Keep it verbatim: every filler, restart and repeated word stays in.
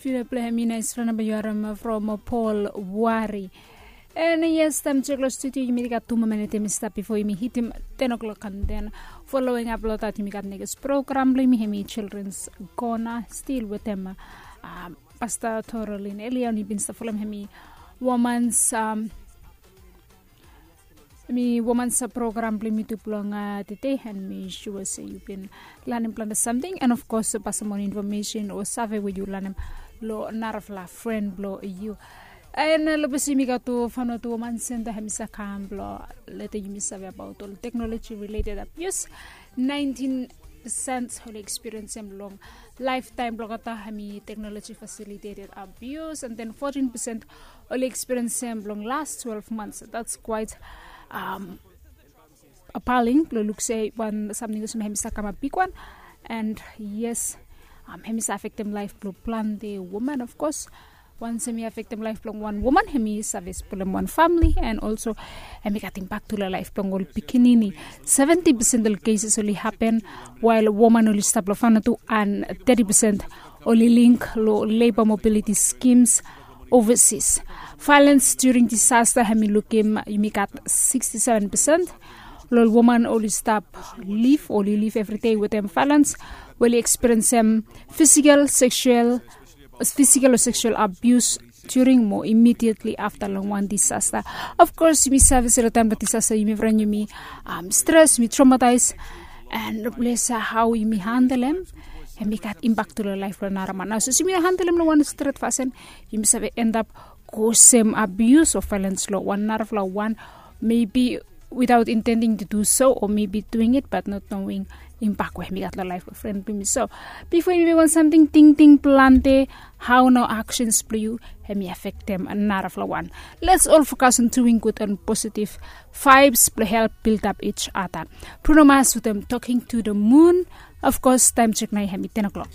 Bila pule hemi nais fren namba yu harim from Paul Wari. And yes, taem jek long studio yumi gat tu moa minit hemi stap bifo yumi hitim ten o'clock and then following up long that yumi gat next program blong yumi hemi Children's Corner, still wetem um, Pastor Torolin Elion. Yumi bin stap folem hemi woman's um, mi woman sa program blong mi tu blong uh, tete and mi sure se yu bin lanem plante samting and of course pasim ol information o save we yu lanem lo narafala friend blo yu. And uh, lo besi mi gat tu fano tu woman center hemi sa kam blo lete yumi save about ol technology related abuse. Nineteen percent oli experience em long lifetime blong kata hemi technology facilitated abuse and then fourteen percent oli experience em long last twelve months. That's quite um, appalling lo luk se wan samting olsem hemi sa kamap bigwan. And yes, um, hemi sa affectem life blo plante woman of course. Once hemi affectem life blong wan woman hemi save spolem wan family and also hemi gat impact tu long life blong ol pikinini. Seventy percent ol cases oli happen while woman oli stap long fano tu and thirty percent oli link lo labor mobility schemes overseas. Violence during disaster hemi lukim yumi gat sixty-seven percent lo ol woman oli stap live oli live everyday wetem violence, we oli experience em physical sexual physical o sexual abuse during mo immediately after long wan disaster. Of course yumi save se lo taem blong disaster yumi fren yumi um, stress yumi traumatise and replace how yumi handle em. Hemi gat impact tu long life blong naraman nao so yumi handle em long wan stret fasin yumi save end up causem abuse o violence lo wan narafala wan maybe without intending to do so or maybe doing it but not knowing impact we hemi gat long life blong friend blong mi. So bifo yumi mekem wan samting tingting plante how nao actions blong yu hemi affectem narafala wan. Let's all focus on doing good and positive vibes blong help build up each other. Bruno Mars wetem Talking to the Moon. Of course taem jek nao hemi ten o'clock.